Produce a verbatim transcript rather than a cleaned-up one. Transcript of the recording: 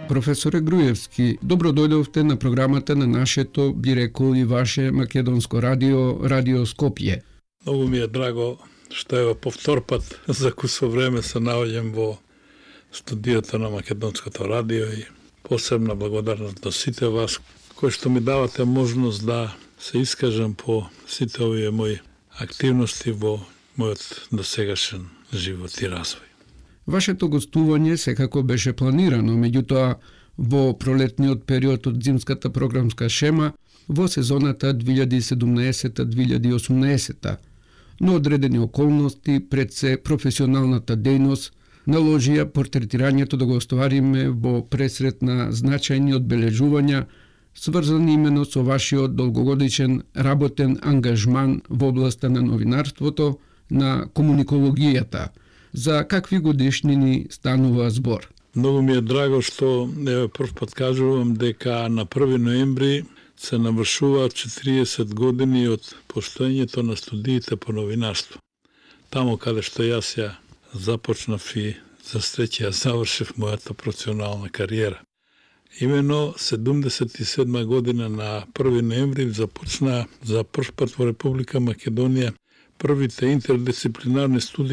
Професоре Груевски, добро дојдовте на програмата на нашето, би рекол и ваше македонско радио, Радио Скопје. Многу ми е драго што ево по втор пат за кусо време се наоѓам во студиото на Македонското радио и посебна благодарност до сите вас кои што ми давате можност да се искажам по сите овие мои активности во мојот досегашен живот и развој. Вашето гостување секако беше планирано, меѓутоа во пролетниот период од зимската програмска шема во сезоната две илјади и седумнаесета две илјади и осумнаесета, но одредени околности пред се професионалната дејност наложија портретирањето да го оствариме во пресрет на значајни одбележувања сврзани именно со вашиот долгогодишен работен ангажман во областа на новинарството, на комуникологијата. За какви годишнини станува збор? Многу ми е драго што еве прв пат кажувам дека на први ноември се навршуваат четириесет години од постоењето на студиите по новинарство. Тамо каде што јас ја започнав и за среќа ја завршив мојата професионална кариера. Имено седумдесет и седма година на први ноември започна за прв пат во Република Македонија првите интердисциплинарни студии